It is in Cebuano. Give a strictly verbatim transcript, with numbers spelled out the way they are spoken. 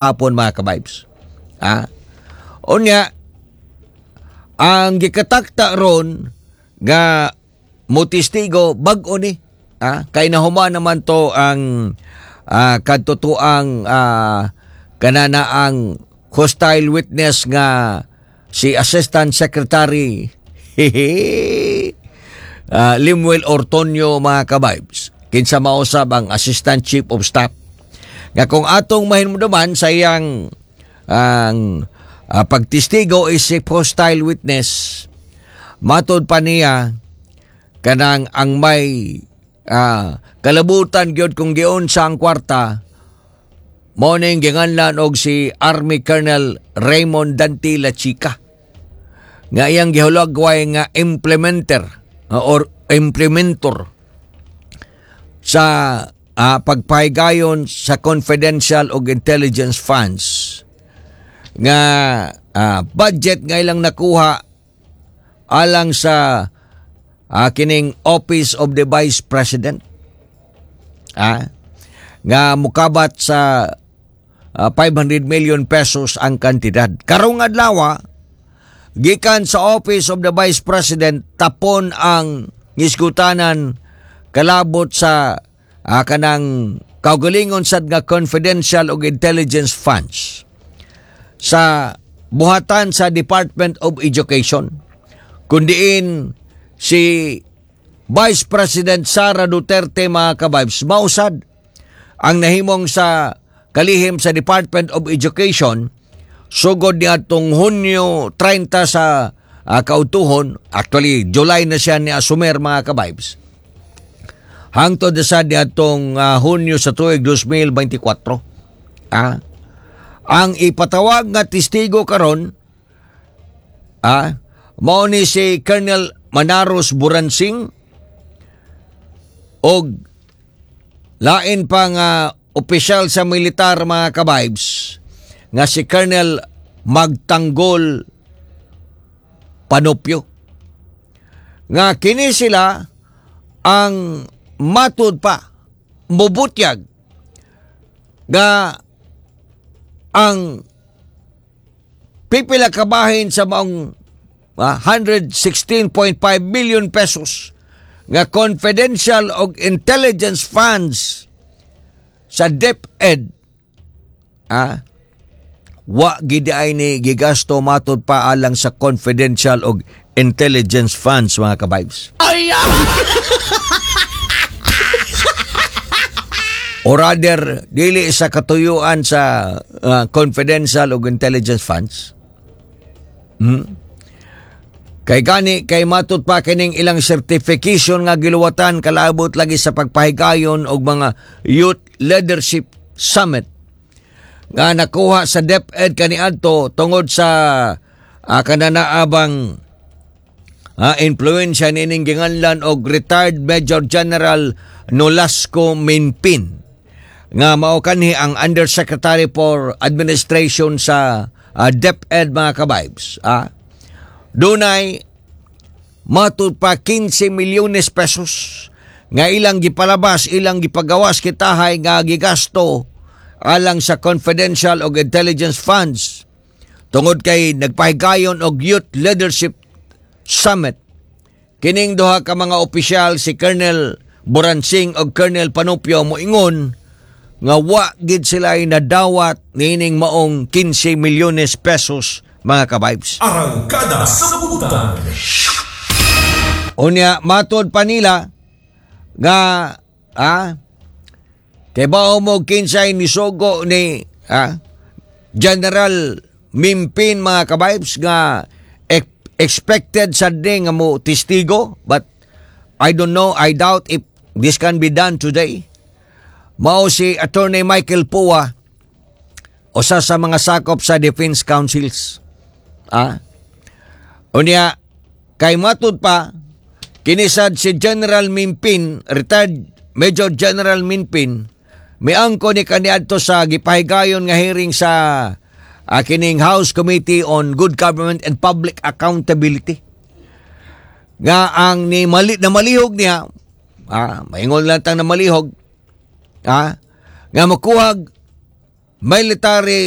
Gahapon, mga ka-vibes. Ah. Unya, ang gikatakta ron nga motestigo bag-o ni. Ah, kay nahuman naman to ang ah, kadtotoang ah, kanana ang hostile witness nga si Assistant Secretary uh, Limuel Ortonio, mga ka-vibes. Kinsa mausab ang Assistant Chief of Staff nga kung atong mahinumduman sa iyang ang uh, pagtestigo is si hostile witness, matod pa niya kanang ang may uh, kalabutan gyud kung giunsa ang kwarta mao ning ginganlan og si Army Colonel Raymond Dante Lachica nga iyang gihulagway nga implementer uh, or implementor sa uh, pagpahigayon sa confidential og intelligence funds nga uh, budget nga ilang nakuha alang sa uh, kining Office of the Vice President ah nga mukabat sa uh, five hundred million pesos ang kantidad. Karong adlaw, gikan sa Office of the Vice President, tapon ang ngisgutanan kalabot sa uh, kanang kaugalingon sad nga confidential og intelligence funds sa buhatan sa Department of Education kundiin si Vice President Sara Duterte, mga ka-vibes, mausad ang nahimong sa kalihim sa Department of Education sugod niadtong Hunyo trenta sa uh, kautuhon. Actually, July na siya ni asumer, mga ka-vibes, hangtod na sa niadtong uh, Hunyo sa tuig dalawang libo bente kwatro. Ah, ang ipatawag nga testigo karon ah mao ni si Colonel Manaros Buransing og lain pa nga opisyal sa militar, mga ka-vibes, nga si Colonel Magtanggol Panopio nga kini sila ang matud pa mubutyag nga ang pipila kabahin sa maong ah, one hundred sixteen point five million pesos nga confidential og intelligence funds sa DepEd ah wa gid ay ni gigasto matod pa alang sa confidential og intelligence funds, mga ka-vibes. Ay! Or rather, dili sa katuyuan sa uh, confidential og intelligence funds. Hmm? Kay gani kay matud pa kining ilang certification nga giluwatan kalabot lagi sa pagpahigayon og mga Youth Leadership Summit nga nakuha sa DepEd kaniadto tungod sa uh, kananaabang uh, influensya nining ginganlan og retired Major General Nolasco Minpin nga mao kanhi ang Undersecretary for Administration sa uh, DepEd, mga ka-vibes. Ah, dunay matud pa kinse milyones pesos nga ilang gipalabas, ilang gipagawas kitahay nga gigasto alang sa confidential og intelligence funds tungod kay nagpahigayon og Youth Leadership Summit. Kining duha ka mga opisyal, si Colonel Boransing og Colonel Panopio, moingon nga wa gid sila ay nadawat niining maong kinse milyones pesos, mga ka-vibes. Arangkada sa Butan. Unya matod pa nila nga ah kay bao mo kinsay nisugo ni ah General Mimpin, mga ka-vibes, nga ex- expected sa nga mo testigo, but I don't know, I doubt if this can be done today. Mao si Attorney Michael Poa, usa sa mga sakop sa defense counsels. Ah unya kay matud pa kinisad si General Mimpin, retired Major General Mimpin, miangko ni kaniadto sa gipahigayon nga hearing sa uh, kining House Committee on Good Government and Public Accountability nga ang ni mali na malihog niya, ah maingon lang tang na malihog ah nga makuhag Military.